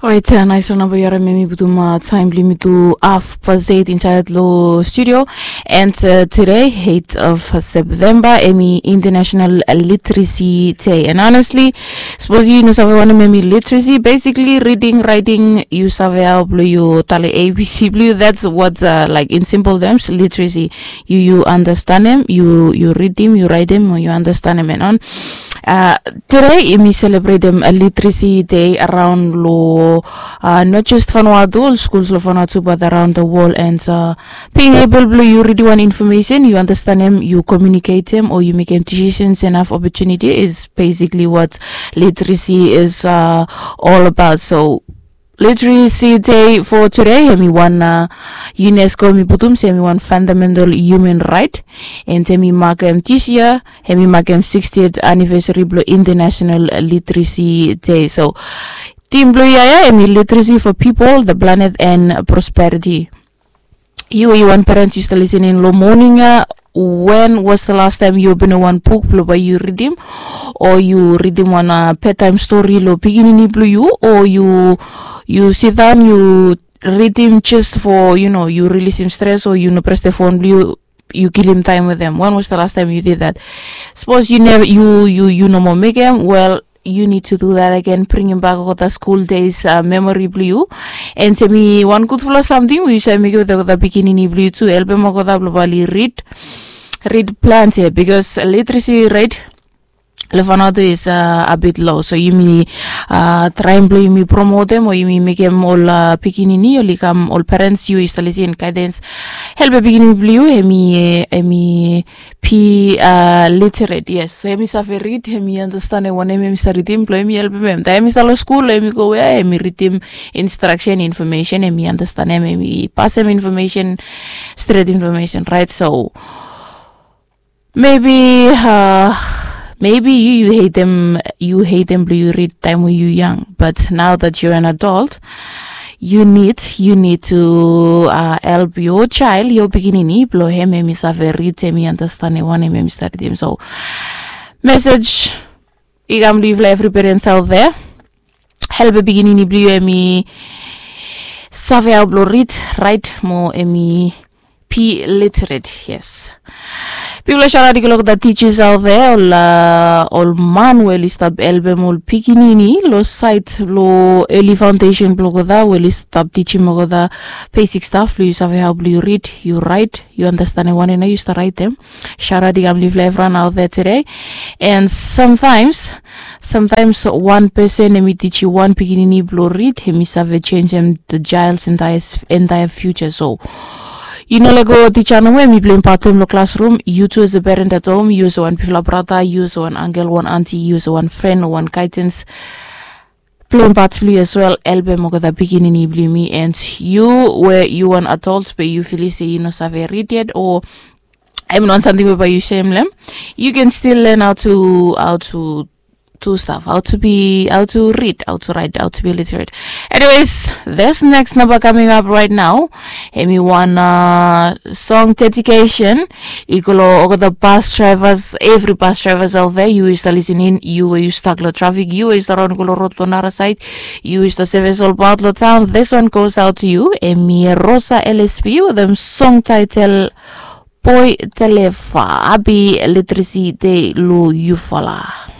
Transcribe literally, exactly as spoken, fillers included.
Orait, nais ol namba yu harim, em i putum taem blong yumi tu haf past eight insaed long studio. And tude, eight of September, em i International Literacy Day. And honestly, sapos yu no save wanem em i literacy, basically reading, writing, yu save hao blong yu talem A B C blong yu. That's what, like, in simple terms, literacy. Yu yu andastanem, yu yu ridim, yu raetem, o yu andastanem, and on. Tude yumi selebretem Literacy Day araon long, not just Vanuatu, ol skuls long Vanuatu, but around the world. And being able blong yu ridim wan information, yu andastanem, yu komuniketem, o yu mekem decisions, enough opportunity is basically what literacy is all about. So Literacy Day for tude, em i wan, UNESCO em i putum se em i wan fundamental human right. And em i makem this year, em i makem sixtieth anniversary blong International Literacy Day. So tim blong yu ya, em i Literacy for People, the Planet and Prosperity. Yu, yu wan parents, yu stap lisening long moning ya, when was the last time yu openem wan buk blong bae yu ridim, o yu ridim wan bedtime story long pikinini blong yu, o yu yu sidaon yu ridim just for, you know, yu rilisim stres, o yu no pres the phone blong yu, yu kilim taem wetem? When was the last time you did that? Sapos yu neva, yu yu yu no moa mekem, well, you need to do that again, bringim bak olgeta school days memory blong yu. And em i wan gudfala samting we yu save mekem wetem olgeta pikinini blong yu tu, helpem olgeta blong bae oli rid rid plante, because literacy rate long Vanuatu is a bit low. So yumi traem blong yumi promotem o yumi mekem ol pikinini oli kam, ol parents, yu yu stap lisin, guidance, helpem pikinini blong yu, em i em i be literate, yes. Em i save rid, em i andastanem wanem em i stap ridim, blong em i helpem em taem em i stap long skul, em i go we em i ridim instruction, information, em i andastanem, em i pasem information, stret information, right? So maybe maybe yu yu hatem, yu hatem blong yu rid taem we yu yang, but now that you're an adult, you need you need to help your child, your pikinini, blong em em i save rid, em i andastanem wanem em i stap ridim. So message i kam long yufala evri parents out there, helpem pikinini blong yu em i save hao blong rid, raet, mo em i be literate, yes. Bigfala shout out i go long olgeta teachers out there, ol ol man we oli stap helpem ol pikinini long side blong early foundation blong olgeta, we oli stap tijim olgeta basic stuff blong yu save hao blong yu rid, yu raet, yu andastanem wanem nao yu stap raetem. Shout out i kam long yufala evriwan out there tude. And sometimes, sometimes wan person em i tijim wan pikinini blong rid, em i save jenisim the child's entire future. So yu no lego tija nomo em i pleim pat blong hem long classroom. Yu tu as a parent at home, yu olsem wan bigfala brata, yu olsem wan ankel, wan anti, yu olsem wan fren o wan guidance, pleim pat blong yu as well, helpem olgeta pikinini blong yumi. And yu we yu wan adult be yu filim se yu no save rid yet, o em i no wan samting we bae yu sem long hem, you can still learn how to how to do stuff, how to be, how to read, how to write, how to be literate. Anyways, this next number coming up right now, em i wan song dedication i go long olgeta bus drivers, evri bus drivers out there. Yu yu stap lisening, yu we yu stak long trafik, yu we yu stap raon i go long rod blong nara saed, yu yu stap sevis olbaot long taon, this one goes out to you. Em i Rosa L S P wetem song title Boy Deliver. Happy Literacy Day long yufala.